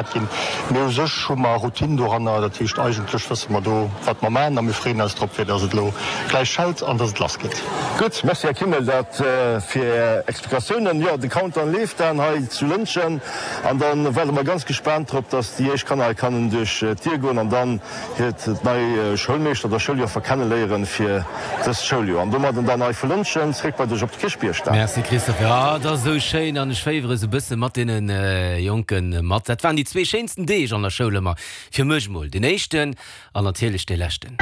Ginn. Mee u sech hu mer Routine doranner, dat heescht eigentlech wësse mer do wat mer maachen a mir freeën eis drop fir datt et elo gläich schellt an datt et lass geet. Gutt, Merci Här Kimmel, dat fir Är Explikatiounen. Jo, de Countdown leeft dann hei zu Lëntgen an dann waarde mer ganz gespaant drop, datt déi éischt Kanner hei kannen duerch d'Dier goen an dann hiert nei Schoulmeeschter oder Schouljoffer kenneléieren fir dëst Schouljoer. An domadden dann hei vu Lëntgen zréck bei dech op de Kierchbierg, Dan. Merci Christophe, jo et ass esou schéin an ech féiwere sou bësse mat deene Jonken mat. Dat waren déi zwee schéinsten Deeg an der Schoul ëmmer fir mech mol, deen éischten an natierlech dee leschten.